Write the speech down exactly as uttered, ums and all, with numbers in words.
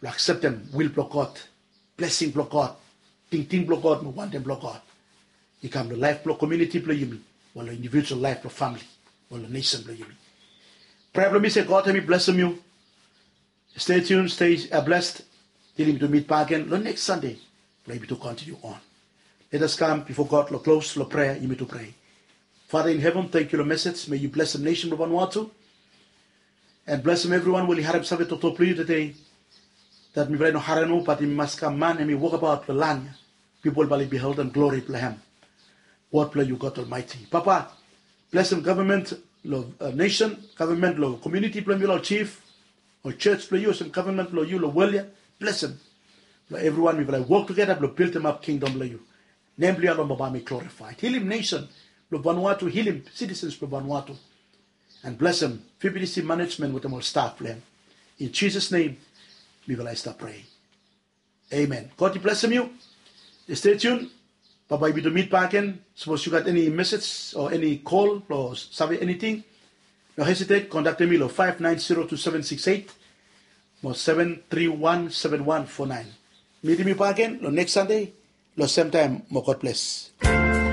blong akseptem wil blong God, blesing blong God, tingting blong God mo wantem blong God i kam long laef blong komuniti blong yumi, o long individual laef blong famili, o long nesen blong yumi. Prea blong mi se God hem i blesem yu. Stay tuned, stay blessed. Til yumi tu mit bakegen long neks Sande blong yumi tu kontiniu on. Let us kam bifo God long klos long prea. Yumi tu prea. Father in heaven, thank you long message. May yu blesem nesen blong Vanuatu and blesem evriwan we oli harem save toktok blong yu tede. Dat mifala i no harem nomo, bat i mas kam man hem i wokabaot long lan ya. Pipol bae oli biheldem glori blong hem. Wod blong yu God Almaeti. Papa, blesem gavman long nesen, gavman long komuniti blong yumi, long jif, ol jos blong yu olsem gavman blong yu long wol ya. Blesem blong evriwan mifala i wok tugeta blong bildemap kingdom blong yu. Nem blong yu alone bae i glorifaed. Hilim nesen blong Vanuatu, hilim sitisens blong Vanuatu. And blesem Fibonacci manejmen wetem ol staf blong hem. In Jisas nem mifala i stap prea. Amen. God i blesem yu. Stay tuned. Bambae yumi tu mit bakegen. Sapos yu gat eni mesej o eni kol blong save eniting, no hesitet, kontaktem mi long five nine zero two seven six eight mo seven three one seven one four nine. Mitim yu bakegen long neks Sande long semtaem mo God bles.